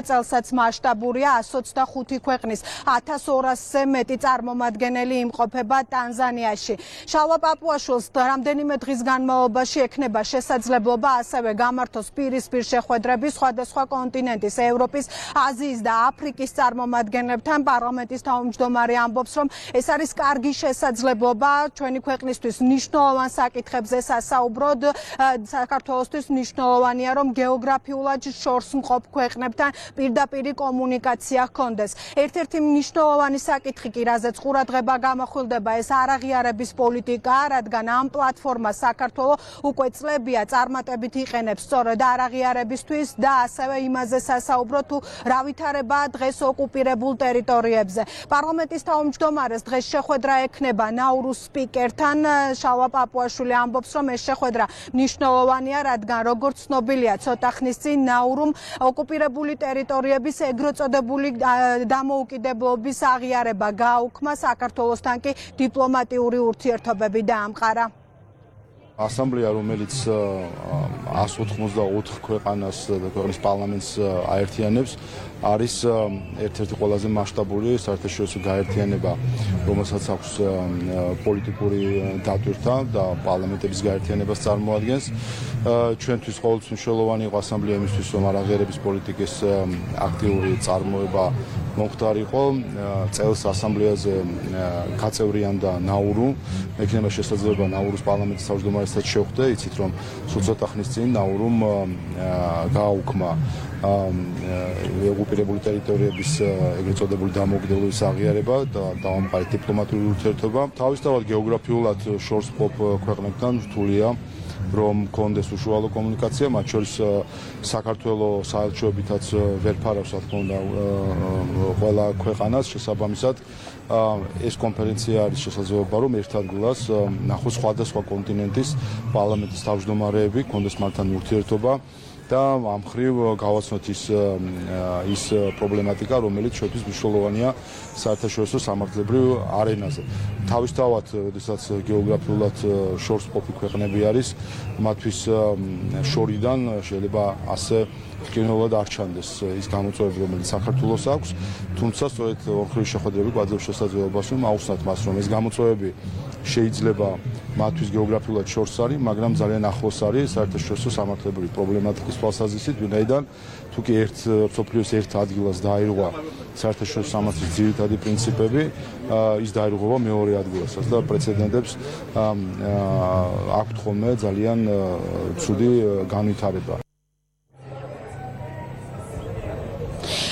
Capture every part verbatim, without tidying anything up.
წელსაც მასშტაბურია ათას ოცდახუთი ქვეყნის ათას ორასზე მეტი წარმომადგენელი იმყოფება ტანზანიაში. შალვა პაპუაშვილს რამდენიმე დღის განმავლობაში ექნება შესაძლებლობა ასევე გამართოს პირისპირ შეხვედრები სხვადასხვა კონტინენტის, ევროპის, აზიის და აფრიკის წარმომადგენლებთან. პარლამენტის თავმჯდომარე ამბობს, რომ ეს არის კარგი შესაძლებლობა ჩვენი ქვეყნისთვის მნიშვნელოვან საკითხებზე სასაუბროდ. საქართველოსთვის მნიშვნელოვანია, რომ გეოგრაფიულად შორს მყოფ ქვეყნებთან პირდაპირ კომუნიკაცია ჰქონდეს. ერთ-ერთი მნიშვნელოვანი საკითხი კი, რაზეც ყურადღება გამახვილდება, ეს არაღიარების პოლიტიკა, რადგან ამ პლატფორმას საქართველოს უკვე წლებია წარმატებით იყენებს სწორედ არაღიარებისთვის და ასევე იმაზე სასაუბრო თუ რა ვითარებაა დღეს ოკუპირებულ ტერიტორიებზე. პარლამენტის თავმჯდომარეს დღეს შეხვედრა ექნება ნაურუს სპიკერთან. შალვა პაპუაშვილი ამბობს, რომ ეს შეხვედრა მნიშვნელოვანია, რადგან როგორც ცნობილია, ცოტა ხნის წინ ნაურუმ ოკუპირებული ტერიტორიების ეგრეთ წოდებული დამოუკიდებლობის აღიარება გააუქმა, საქართველოსთან კი დიპლომატიური ურთიერთობები დაამყარა. ასამბლეა, რომელიც ათას ოთხმოცდაოთხ ქვეყანას და ქვეყნის პარლამენტს აერთიანებს, არის ერთ-ერთი ყველაზე მასშტაბური საერთაშორისო გაერთიანება, რომელსაც აქვს პოლიტიკური დატვირთვა და პარლამენტების გაერთიანებას წარმოადგენს. ჩვენთვის ყოველთვის მნიშვნელოვანი იყო ასამბლეა იმისთვის, რომ არაღიარების პოლიტიკის აქტიური წარმოება მომხდარიყო. წელს ასამბლეაზე გაწევრიანდა ნაურუ, ექნება შესაძლებლობა ნაურუს პარლამენტის თავმჯდომარესაც შეხვდე. იცით, რომ სულ ცოტა ხნის წინ ნაურუმ გააუქმა ოკუპირებული ტერიტორიების ეგრეთ წოდებული დამოუკიდებლობის აღიარება და დაამყარა დიპლომატიური ურთიერთობა. თავისთავად გეოგრაფიულად შორს მყოფ ქვეყნებთან რთულია რომ კონდეს უშუალო კომუნიკაცია, მათ შორის საქართველოს საელჩოებითაც ვერ ფარავს, რა თქმა უნდა, ყველა ქვეყანას შესაბამისად. ეს კონფერენცია არის შესაძლებლობა, რომ ერთ ადგილას ნახოს სხვადასხვა კონტინენტის პარლამენტის თავმჯდომარეები, კონდეს მათთან ურთიერთობა და ამ მხრივ გავაცნოთ ის ის პრობლემატიკა, რომელიც ჩვენთვის მნიშვნელოვანია საერთაშორისო სამართლებრივ არენაზე. თავისთავად, როდესაც გეოგრაფიულად შორს მყოფი ქვეყნები არის, მათთვის შორიდან შეიძლება ასე რკინულად არ ჩანდეს ის გამოწვევები, რომელიც საქართველოს აქვს, თუმცა სწორედ ორხრივი შეხვედრები გვაძლევს შესაძლებლობას, რომ აუხსნათ მას, რომ ეს გამოწვევები შეიძლება მათთვის გეოგრაფიულად შორს არის, მაგრამ ძალიან ახლოს არის საერთაშორისო სამართლებრივი პრობლემატიკის თვალსაზრისით, ვინაიდან თუ კი ერთ მსოფლიოს ერთ ადგილას დაირღვა საერთაშორისო სამართლის ძირითადი პრინციპები, ის დაირღვევა მეორე ადგილასაც და პრეცედენტებს აქვთ ხოლმე ძალიან ცუდი განვითარება.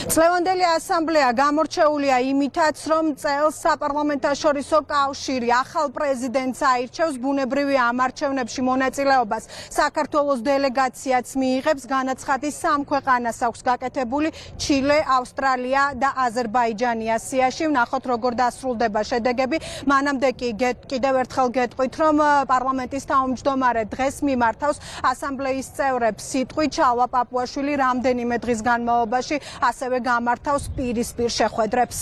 წლევანდელი ასამბლეა გამორჩეულია იმითაც, რომ წელს საპარლამენტაშორისო კავშირი ახალ პრეზიდენტს აირჩევს, ბუნებრივი ამარჩევნებში მონაწილეობას საქართველოს დელეგაციაც მიიღებს. განაცხადი სამ ქვეყანას აქვს გაკეთებული: ჩილე, ავსტრალია და აზერბაიჯანი ასიაში. ვნახოთ, როგორ დასრულდება შედეგები. მანამდე კი კიდევ ერთხელ გეტყვით, რომ პარლამენტის თავმჯდომარე დღეს მიმართავს ასამბლეის წევრებს სიტყვით. შალვა პაპუაშვილი რამდენიმე დღის განმავლობაში ასევე გამართავს პირისპირ შეხვედრებს.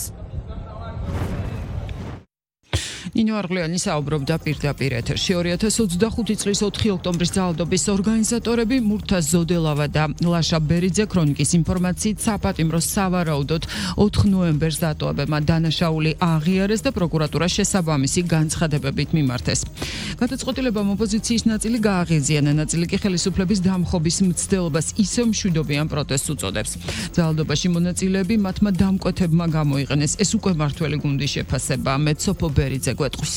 ნინო არღლიანი საუბრობდა პირდაპირ ეთერში. ორი ათას ოცდახუთი წლის ოთხი ოქტომბრის ძალადობის ორგანიზატორები მურთაზ ზოდელავა და ლაშა ბერიძე ქრონიკის ინფორმაციით საპატიმროს სავარაუდოდ ოთხ ნოემბერს დატოვებებმა დანაშაული აღიარეს და პროკურატურა შესაბამისი განცხადებებით მიმართეს. გადაწყვეტილებამ ოპოზიციის ნაწილი გააღიზიანა, ნაწილი კი ხელისუფლების დამხობის მცდელობას ისევ მშვიდობიან პროტესტს უწოდებს. ძალადობაში მონაწილეები მათმა დამკვეთებმა გამოიყენეს. ეს უკვე მართველი გუნდის შეფასება. მეცოფო ბერიძე გვეტყვის.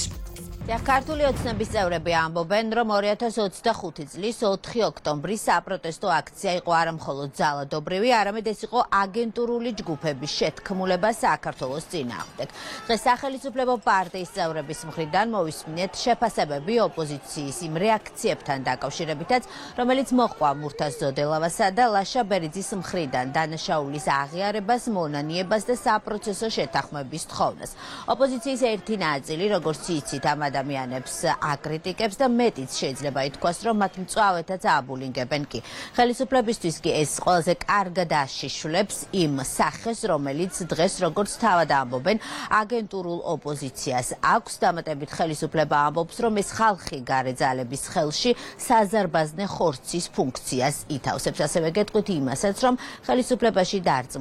ქართული ოცნების წევრები ამბობენ, რომ ორი ათას ოცდახუთი წლის ოთხი ოქტომბრის საპროტესტო აქცია იყო არა მხოლოდ ძალადობრივი, არამედ ეს იყო აგენტურული ჯგუფების შეთქმულება საქართველოს წინააღმდეგ. დღეს სახელმწიფო პარტიის წევრების მხრიდან მოვისმინეთ შეფასებები ოპოზიციის იმ რეაქციებთან დაკავშირებითაც, რომელიც მოჰყვა მურთაზ ზოდელავასა და ლაშა ბერიძის მხრიდან დანაშაულის აღიარებას, მონანიებას და საპროცესო შეთანხმების თხოვნას. ოპოზიციის ერთი ნაწილი, როგორც იცით, ამ ადამიანებს აკრიტიკებს და მეტიც შეიძლება ითქვას, რომ მათ მწვავედაც ააბულინგებენ კი. ხელისუფლებისთვის კი ეს ყველაზე კარგად აშიშვლებს იმ სახეს, რომელიც დღეს როგორც თავად ამბობენ აგენტურულ ოპოზიციას აქვს. დამატებით ხელისუფლება ამბობს, რომ ეს ხალხი გარე ძალების ხელში საზარბაზნე ხორცის ფუნქციას ითავსებს. ასევე გეტყვით იმასაც, რომ ხელისუფლებაში დარწმუნებული